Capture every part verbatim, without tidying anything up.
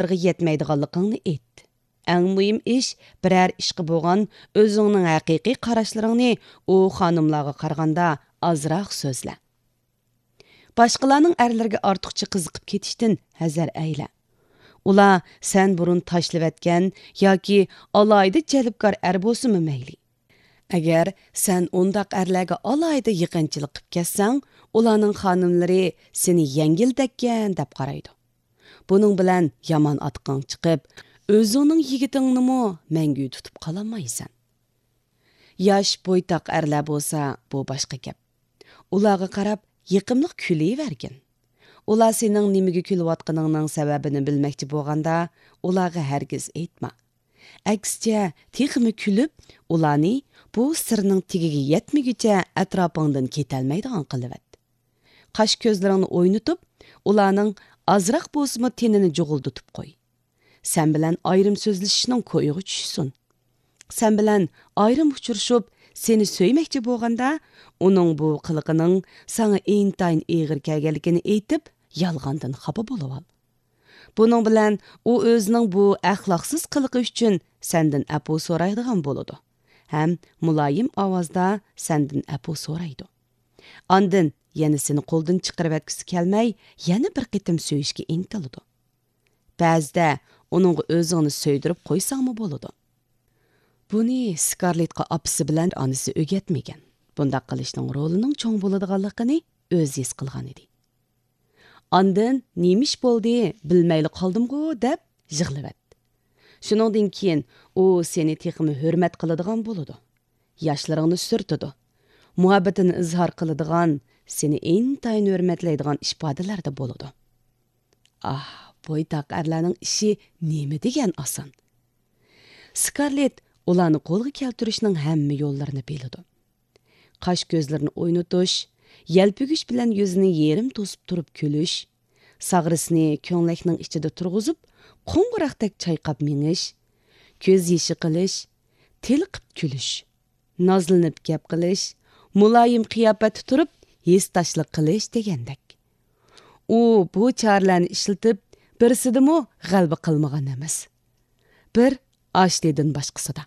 ئىشلىرىغا يەتمەيدىغانلىقىڭنى ئېيت. ئەڭ مۇھىم ئىش، بىرەر ئىشقا بولغان ئۆزۈڭنىڭ ھەقىقىي قاراشلىرىڭنى ئۇ خانىملارغا قارىغاندا ئازراق سۆزلە. باشقىلارنىڭ ئەرلىرىگە ئارتۇقچە قىزىقىپ كېتىشتىن ھەزەر ئەيلە. ئۇلار سەن بۇرۇن تاشلىۋەتكەن ياكى ئالاھىدە جەلپكار ئەر بولسىمۇ مەيلى. ئەگەر سەن ئۇنداق ئەرلەرگە ئالاھىدە يېقىنچىلىق قىپ كەتسەڭ، ئۇلارنىڭ خانىملىرى سېنى يەڭگىلدەككەن دەپ قارايدۇ. بۇنىڭ بىلەن يامان ئاتىقىڭ چىقىپ، ئۆزۈڭنىڭ يىگىتىڭنىمۇ مەڭگۈ تۇتۇپ قالالمايسەن. ياش بويتاق ئەرلەر بولسا، بۇ باشقا گەپ. ئۇلارغا قاراپ يېقىملىق كۈلۈۋەرگىن. ئۇلار سېنىڭ نېمىگە كۈلۈۋاتقىنىڭنىڭ سەۋەبىنى بىلمەكچى بولغاندا، ئۇلارغا ھەرگىز ئېيتما. ئەكسىچە، تېخىمۇ كۈلۈپ، ئۇلارنى بۇ سىرنىڭ تېگىگە يەتمىگۈچە ئەتراپىڭدىن كېتەلمەيدىغان قىلىۋەت. قاش كۆزلىرىڭنى ئوينىتىپ، ئۇلارنىڭ ئازراق بولسىمۇ تېنىنى جۇغۇلدىتىپ قوي. سەن بىلەن ئايرىم سۆزلىشىشنىڭ كويىغا چۈشسۇن. سەن بىلەن ئايرىم ئۇچرىشىپ، سېنى سۆيمەكچى بولغاندا، ئۇنىڭ بۇ قىلىقىنىڭ ساڭا ئىنتايىن ئېغىر كەلگەنلىكىنى ئېيتىپ، يالغاندىن خاپا بولۇۋال. بۇنىڭ بىلەن ئۇ ئۆزىنىڭ بۇ ئەخلاقسىز قىلىقى ئۈچۈن سەندىن ئەپۇ سورايدىغان بولىدۇ ھەم مۇلايىم ئاۋازدا سەندىن ئەپۇ سورايدۇ. ئاندىن يەنە سېنى قولدىن چىقىرىۋەتكۈسى كەلمەي، يەنە بىر قېتىم سۆيۈشكە ئىنتىلىدۇ. بەزىدە ئۇنىڭغا ئۆزۈڭنى سۆيدۈرۈپ قويساڭمۇ بولىدۇ. بۇنى سكارلېتقا ئاپىسى بىلەن ئانىسى ئۆگەتمىگەن. بۇنداق قىلىشنىڭ رولىنىڭ چوڭ بولىدىغانلىقىنى ئۆزى ھېس قىلغان ئىدى. ئاندىن نېمە ئىش بولدى، بىلمەيلا قالدىمغۇ دەپ يىغلىۋەت. شۇنىڭدىن كېيىن ئۇ سېنى تېخىمۇ ھۆرمەت قىلىدىغان بولىدۇ. ياشلىرىڭنى سۈرتىدۇ. مۇھەببىتىنى ئىزھار قىلىدىغان، سېنى ئىنتايىن ھۆرمەتلەيدىغان ئىپادىلەردە بولىدۇ. ئاھ، بويتاق ئەرلەرنىڭ ئىشى نېمە دېگەن ئاسان. سكارلېت ئۇلارنى قولغا كەلتۈرۈشنىڭ ھەممە يوللىرىنى بىلىدۇ. قاش كۆزلىرىنى ئوينىتىش، يەلپۈگۈچ بىلەن يۈزىنى يېرىم توسۇپ تۇرۇپ كۈلۈش، ساغرىسىنى كۆڭلەكنىڭ ئىچىدە تۇرغۇزۇپ، قوڭغۇراقتەك چايقاپ مېڭىش، كۆز يېشى قىلىش، تېلىقىپ كۈلۈش، نازلىنىپ گەپ قىلىش، مۇلايىم قىياپەتتە تۇرۇپ ھېسداشلىق قىلىش دېگەندەك. ئۇ بۇ چارىلەرنى ئىشلىتىپ، بىرسىدىمۇ غەلىبە قىلمىغان ئەمەس. بىر ئاشلىدىن باشقىسىدا.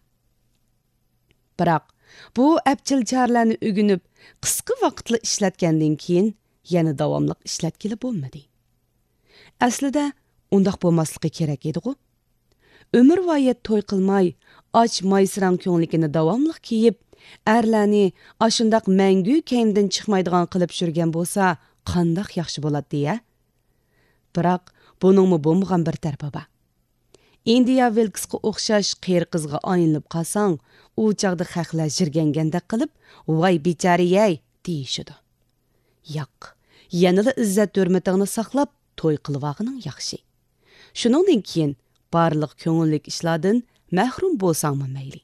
بىراق، بۇ ئەپچىل چارىلەرنى ئۆگىنىپ، قىسقا ۋاقىتلا ئىشلەتكەندىن كېيىن، يەنە داۋاملىق ئىشلەتكىلى بولمىدى. ئەسلىدە، ئۇنداق بولماسلىقى كېرەك ئىدىغۇ. ئۆمۈرۋايەت توي قىلماي، ئاچ مايسىراڭ كۆڭلىكىنى داۋاملىق كىيىپ، ئەرلەرنى ئاشۇنداق مەڭگۈ كەينىدىن چىقمايدىغان قىلىپ چۈشۈرگەن بولسا، قانداق ياخشى بولاتتى ھە؟ بىراق، بۇنىڭمۇ بولمىغان بىر تەرىپى بار. ئىندىيا ۋىلكسقا ئوخشاش قېرى قىزغا ئايلىنىپ قالساڭ، ئۇ چاغدا خەقلەر ژىرگەنگەندەك قىلىپ، ۋاي بىچارە-يەي دېيىشىدۇ. ياق، يەنىلا ئىززەت ھۆرمىتىڭنى ساقلاپ، توي قىلىۋالغىنىڭ ياخشى. شۇنىڭدىن كېيىن بارلىق كۆڭۈللۈك ئىشلاردىن مەھرۇم بولساڭمۇ مەيلى.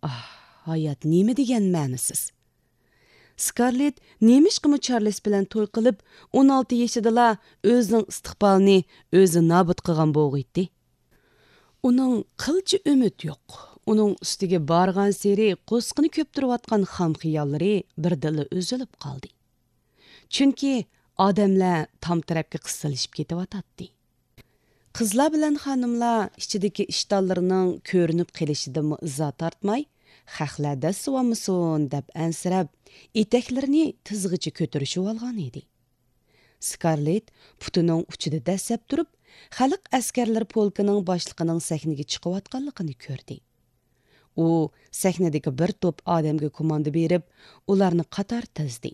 ئاھ، ھايات نېمە دېگەن مەنىسىز. سكارلېت نېمىشقىمۇ چارلىس بىلەن توي قىلىپ، ئون ئالتە يېشىدىلا ئۆزىنىڭ ئىستىقبالىنى ئۆزى نابۇت قىلغان بولغىيتتى. ئۇنىڭ قىلچە ئۈمىد يوق. ئۇنىڭ ئۈستىگە بارغانسېرى قورسىقىنى كۆپتۈرۈۋاتقان خام خىياللىرى بىردىنلا ئۈزۈلۈپ قالدى. چۈنكى ئادەملەر تام تەرەپكە قىستىلىشىپ كېتىۋاتاتتى. قىزلار بىلەن خانىملار ئىچىدىكى ئىشتانلىرىنىڭ كۆرۈنۈپ قېلىشىدىنمۇ ئىزا تارتماي، خەقلەر دەسسىۋالمىسۇن دەپ ئەنسىرەپ، ئېتەكلىرىنى تىزغىچە كۆتۈرۈشۈۋالغان ئىدى. سكارلېت پۇتىنىڭ ئۇچىدا دەسسەپ تۇرۇپ، خەلق ئەسكەرلىرى پولكىنىڭ باشلىقىنىڭ سەھنىگە چىقىۋاتقانلىقىنى كۆردى. ئۇ سەھنىدىكى بىر توپ ئادەمگە كوماندا بېرىپ، ئۇلارنى قاتار تىزدى.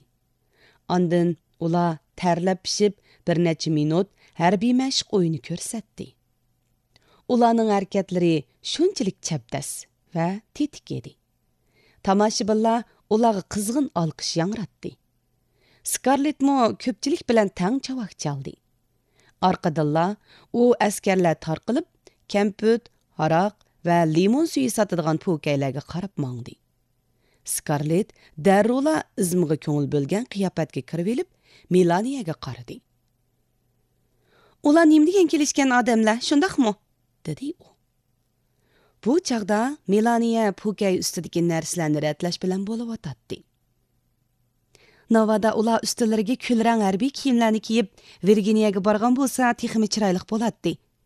ئاندىن ئۇلار تەرلەپ پىشىپ، بىر نەچچە مىنۇت ھەربىي مەشىق ئويۇنى كۆرسەتتى. ئۇلارنىڭ ھەرىكەتلىرى شۇنچىلىك چەبدەس ۋە تېتىك ئىدى. تاماشىبىنلار ئۇلارغا قىزغىن ئالقىش ياڭراتتى. سكارلېتمۇ كۆپچىلىك بىلەن تەڭ چاۋاك چالدى. ئارقىدىنلا ئۇ ئەسكەرلەر تارقىلىپ، كەمپۈت، ھاراق ۋە لىمون سۈيى ساتىدىغان پوكەيلەرگە قاراپ ماڭدى. سكارلېت دەررۇلا ئىزمىغا كۆڭۈل بۆلگەن قىياپەتكە كىرىۋېلىپ، مېلانىيەگە قارىدى. «ئۇلار نېمە دېگەن كېلىشكەن ئادەملەر، شۇنداقمۇ؟» دېدى ئۇ. بۇ چاغدا مېلانىيە پوكەي ئۈستىدىكى نەرسىلەرنى رەتلەش بىلەن بولۇۋاتاتتى. «ناۋادا ئۇلار ئۈستىلىرىگە كۈلرەڭ ھەربىي كىيىملەرنى كىيىپ، ۋىرگىنىيەگە بارغان بولسا، تېخىمۇ چىرايلىق بولاتتى.